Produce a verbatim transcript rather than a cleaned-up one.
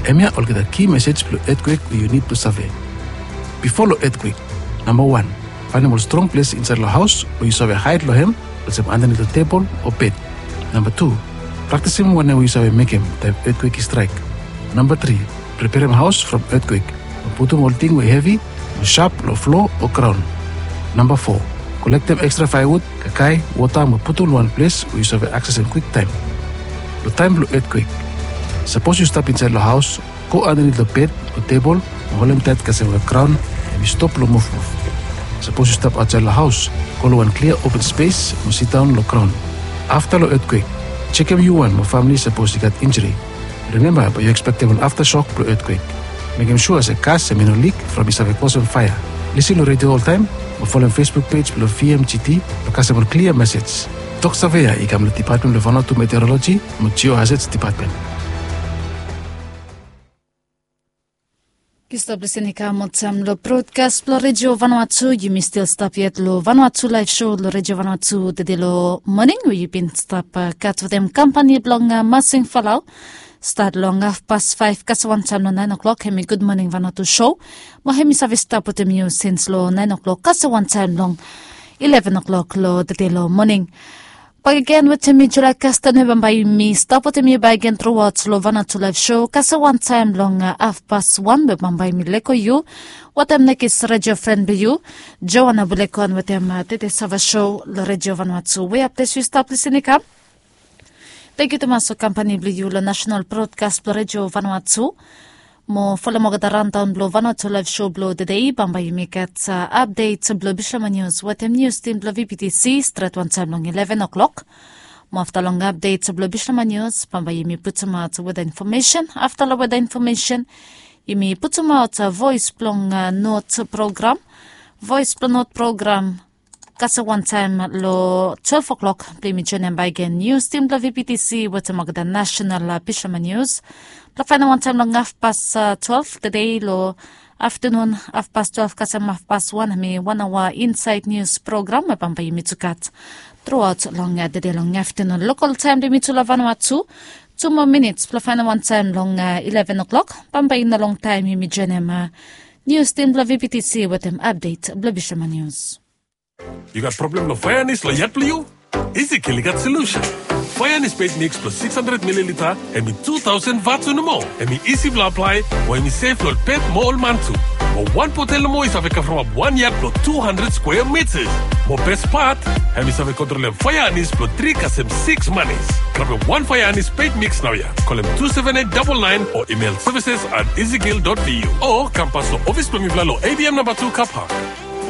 Hemia olgeta ki mesej blong etkwek we yu nid blong save. Bifo long etkwek, namba wan, faenem ol strong ples insaed long haos we yu save haed long hem, olsem andanit long tebol o bed. Namba tu, praktisim wanem we yu save mekem taem etkwek i straek. Namba tri, preperem haos from etkwek. Mo putum ol ting we hevi o sap long flo o graon. Namba fo, kolektem ekstra faewud, kakae, wota mo putum long wan ples we yu save aksesem kwiktaem. Long taem blong etkwek, sapos yu stap insaed long haos, go andanit long bed o tebol mo holem taet kasem we graon hemi stop long muvmuv. Sapos yu stap aotsaed long haos, go long wan klia open spes mo sidaon long graon. Afta long etkwek, jekem yu wan mo famle sapos i gat injri. Rimemba bae yu ekspektem ol aftasok blong etkwek. Mekem sua se gas hemi no lik from i save kosem faea. Lisin long redio oltaem mo folem Facebook pej blong V M G T blong kasem ol klia mesej. Tok save ya i kam long Depatmen blong Vanuatu Meteoroloji mo Geohazards Depatmen. Yu stap lisin i kam oltaem long brodkas blong Redio Vanuatu. Yumi stil stap yet long Vanuatu Laev Sou long Redio Vanuatu tede long moning we yu bin stap gat wetem kampani blong Masing Falau. Stat long hafpas faef kasem wantaem long naen o'klok hemi Gud Moning Vanuatu Sou. Mo hemi save stap wetem yu sins long naen o'klok kasem wantaem long ileven o'klok long tede long moning. Bakegen wetem mi July Kasten we bambae mi stap wetem yu bakegen truaot long Vanuatu Laev Sou kasem wantaem long hafpas wan we bambae mi lego yu wetem nekis redio fren blong yu, Joana Bulekon wetem tede sava sou long Redio Vanuatu we aples yu stap lisin i kam. Tangkiu tumas long kampani blong yu long Nasenal Brodkas blong Redio Vanuatu. Mo folem olgeta raondaon blong Vanuatu Laev Sou blong tede, bambae yumi gat apdet blong Bislama Nius wetem nius tim blong V B T C stret wantaem long ileven o'klok. Mo afta long apdet blong Bislama Nius bambae yumi putumaot weda infomesen. Afta long weda infomesen yumi putumaot voes blong not program. Voes blong not program kasem wantaem long twelve o'klok blong yumi joenem bakegen nius tim blong V B T C wetem olgeta nasenal Bislama Nius. Blong faenem wantaem long hafpas twelve tede long aftanun, hafpas twelve kasem hafpas wan hemi wan aoa insaed nius program we bambae yumi tu gat truaot long tede long aftanun lokal taem blong yumi tu long Vanuatu. Tu moa minits blong faenem wantaem long ileven o'klok. Bambae i no longtaem yumi joenem nius tim blong V B T C wetem apdet blong Bislama Nius. Yu gat problem long faea anis long yat blong yu? Ezekiel i gat solusen. Faea anis pet miks blong six hundred mililita, hemi tu taosen vatu nomo. Hemi isi blong aplae, mo hemi sef long ol pet mo ol man tu. Mo wan botel nomo i save kavremap wan yat blong tu handred skwea mitas. Mo bes pat, hemi save kontrolem faea anis blong tri kasem siks manis. Grabem wan faea anis pet miks naoia. Kolem tu seven eight double nine o imel services at ezekiel dot V U. O kam pas long ofis blong mifala long A B M namba tu Car Park.